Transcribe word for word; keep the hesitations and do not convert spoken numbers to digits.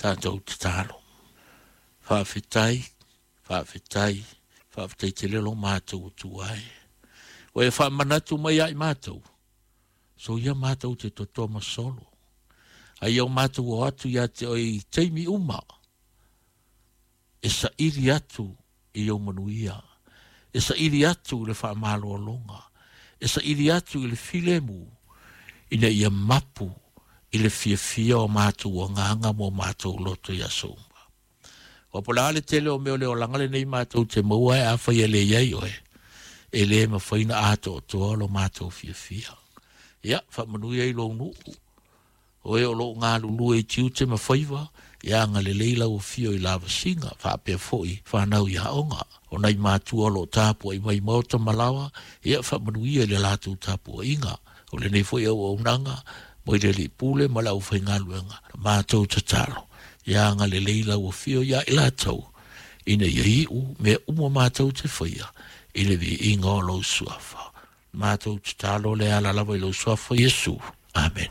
Tatou tatalo. Faafetai, faafetai, faafetai tele lo matou Atua e. Ua e faamanatu mai ia i matou, soia matou te totoa ma solo. Ai o matou o atu ia te oe i taimi uma, e saili atu i ou manuia, e saili atu i le faamalologa, e saili atu i le filemu, ina ia mapu i le fiafia o matou agaga ma o matou loto i aso uma. Ua po le a le tele o mea o le olaga lenei matou te maua e afai e le i ai oe, e le mafai ona atoatoa lo matou fiafia. Ia, faamanuia i lou nuu, o e o loo galulue i tiute ma faiva, ia agalelei lau afio i lavasiga, faapea foi fanau i aoga. O nai matua o loo tapuai mai maota ma laoa, ia faamanuia i le latou tapuaiga. O lenei foi auaunaga mai le Alii Pule ma le aufaigaluega, matou tatalo, ia agalelei lau afio ia i latou, ina ia iu mea uma matou te faia i le viiga o lou suafa. Matou tatalo le ala lava i lou suafa Iesu. Amene.